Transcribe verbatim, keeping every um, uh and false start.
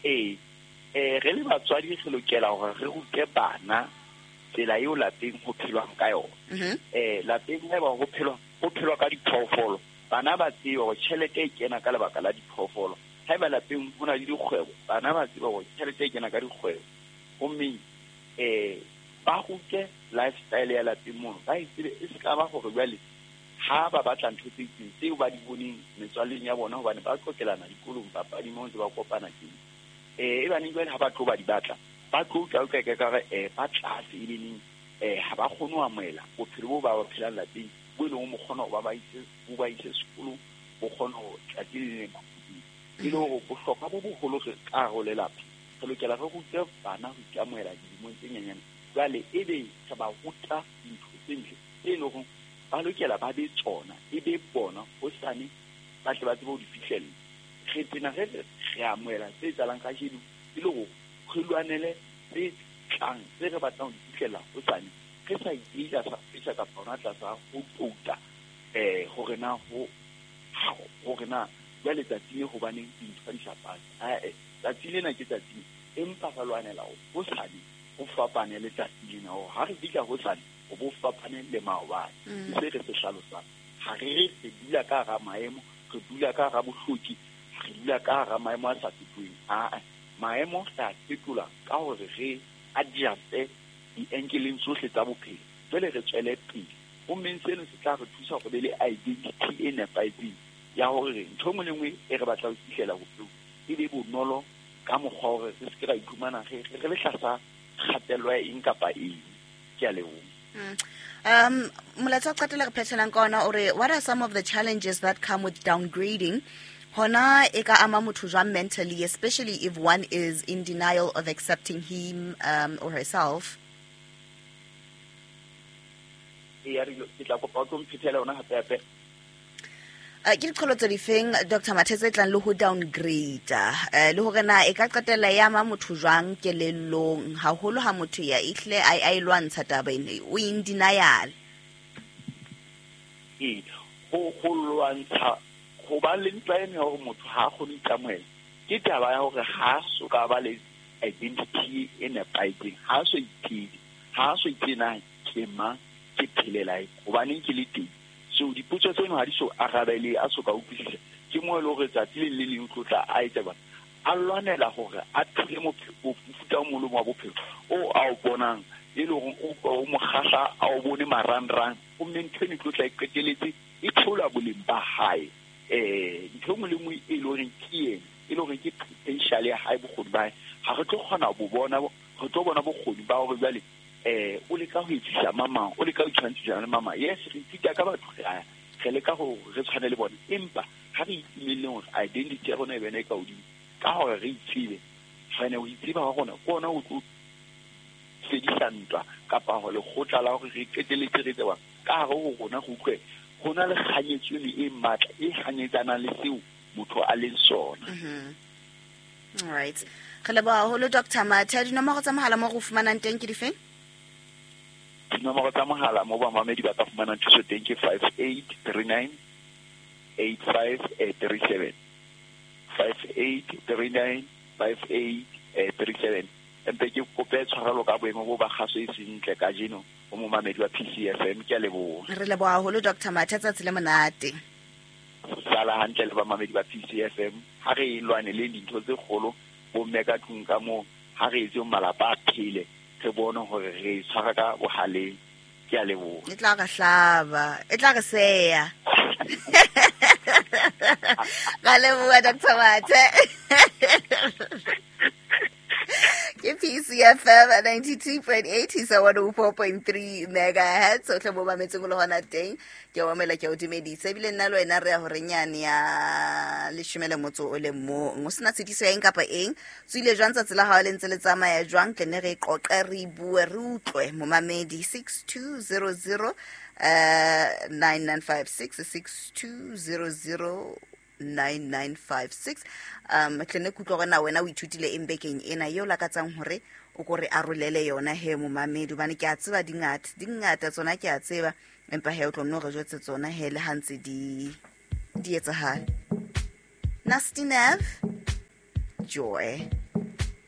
Ee, eh re le batswadi re lokela hore re rute bana tsela eo lapeng ho phelwang ka yona. Eh lapeng haeba ho phelwa ho phelwa ka diphoofolo, bana ba tsebe hore tjhelete e kena ka lebaka la diphoofolo. Haeba lapeng ho na le dikgwebo, bana ba tsebe hore tjhelete e kena ka dikgwebo. Hommeng eh ba rute lifestyle ya lapeng mono, ba e tsebe e se ka ba hore jwale ha ba batla ntho tse itseng tseo ba di boneng metswalleng ya bona, hobane ba qoqelana dikolong, papading moo ntse ba kopana teng. Eh e baneng jwale ha ba tlo ba di batla, ba tlo utlwa utlwa ka re eh ba tlase e leneng, eh ha ba kgone ho amohela bophelo bo ba ba phelang lapeng, bo e leng mo kgona ho ba ba ise bo ba ise sekolong, bo kgona ho tsatsi le leng. E le hore bohlokwa bo boholo re ka hare ho lelapa, re lokela re rute bana ho ikamohela dilemong tse nyenyane. Jwale ebe re ba ruta dintho tse ntle tse leng hore ba lokela ba be tsona, e be bona hosane ba tle ba tsebe ho di fihlella. Re tena re re amohela tse etsahalang kajeno e le hore re lwanele tse tlang tse re batlang ho di fihlella hosane, re sa ipeye tlasa pressure kapa hona tlasa ho touta eh hore na ho hore na jwale tsatsi le hobaneng dintho ha di sa pasa. Ae, tsatsi lena ke tsatsi, empa re lwanela hore hosane ho fapane le tsatsi lena, hore ha re fihla hosane ho bo fapane le maobane. Ke se re se hlalosang. Ha re re re dula ka hara maemo, re dula ka hara bohloki, re dula ka hara maemo a sa fetoheng. Aa, maemo re a fetola ka hore re adjuste di-angle-eng tsohle tsa bophelo, jwale re tswele pele. Hommeng seno se tla re thusa hore be le identity e nepahetseng ya hore ntho e nngwe le nngwe e re batlang ho fihlela bophelong e be bonolo ka mokgwa hore re se ke ra iphumana re re le tlasa kgatello ya eng kapa eng. Ke a leboha. Mm. Um, molaetsa wa qetela re phethelang ka ona o re, what are some of the challenges that come with downgrading? Hona e ka ama motho jwang mentally, especially if one is in denial of accepting him um, or herself? Ee, re ke tla kopa o tlo mphethela yona hape hape. Uh, ke diqholotso difeng Doctor Mathe tse tlang le ho downgrade, uh, le hore na e ka qetella ya ama motho jwang kelellong, haholo ha motho ya ehle a a e lwantsha taba ena, o in denial? Ee, ho ho lwantsha ho ba le ntwa ena ya hore motho ha a kgone ho ikamohela, ke taba ya hore ha so ka ba le identity e nepahetseng, ha so itsebe, ha so itsebe na ke mang, ke phelela eng, hobaneng ke le teng. So dipotso tseno ha di so arabele, a so ka utlwisisa. Ke moo e le hore tsatsi le le leng o tlo tla a etsa bana a lwanela hore a phele mofuta o mong le wa bophelo o a o bonang, e le hore o o mo kgahla, a o bone marangrang. Homme ntho eno e tlo tla e qetelletse e theola boleng ba hae. Eh ntho e nngwe le nngwe e le horeng ke ena, e le horeng ke potential ya hae, bokgoni ba hae, ha re tlo kgona ho bo bona, re tlo bona bokgoni ba hore jwale eh o leka ho etsisa mamang, o leka ho tshwantshisa le mama. Yes, re ithuta ka batho, re a re leka ho re tshwane le bona, empa ha re itumelleng hore identity ya rona e bene e ka hodimo ka hore re itsebe. Fane ho itseba ha rona ke ona ho tlo fedisa ntwa kapa ho lekgotla la hore re qetelletse re tseba ka hare ho rona, re utlwe ho na le kganyetso eno e matla e hanyetsanang le seo motho a leng sona. Mm-hmm. All right. Re leboha haholo Doctor Mathe. Dinomoro tsa mohala moo re o fumanang teng ke difeng? Dinomoro tsa mohala moo bamamedi ba ka fumanang thuso teng ke five eight three nine eight five three seven. five eight three nine five eight three seven. Empe ke kope tshwarelo ka boemo bo ba kgaso e seng ntle kajeno ho momamedi wa P C F M. Ke a leboha. Re leboha haholo Doctor Mathe, tsatsi le monate. Sala hantle le bamamedi ba P C F M. Ha re lwanele dintho tse kgolo bomme ka tlung ka moo, ha re etse malapa a phele, re bone hore re tshwara ka bohaleng. Ke a leboha. E tla re hlaba, e tla re seya. Ra leboha Doctor Mathe. Ke P C F M ninety-two point eight isa one oh four point three megahertz. O tle bo mametseng le hona teng. Ke o mamela, ke o dumedisa. Ebile nna le wena re ya hore nyane ya leshome le motso o le mong. O sena tshitiso ya eng kapa eng. Tswile jwang tsatsi la hao le ntse le tsamaya jwang? Tle ne re qoqe, re bue, re utlwe. Momamedi six two zero zero uh nine nine five six, six two zero zero nine nine five six. Um tle ne kutlwa hore na wena o ithutile eng bekeng ena eo lakatsang hore o ko re arolele yona he momamedi, hobane ke a tseba di ngata, di ngata tsona ke a tseba, empa he o tlo nno re jwetse tsona he le ha ntse di di etsahala. Nasty Nev, Joy.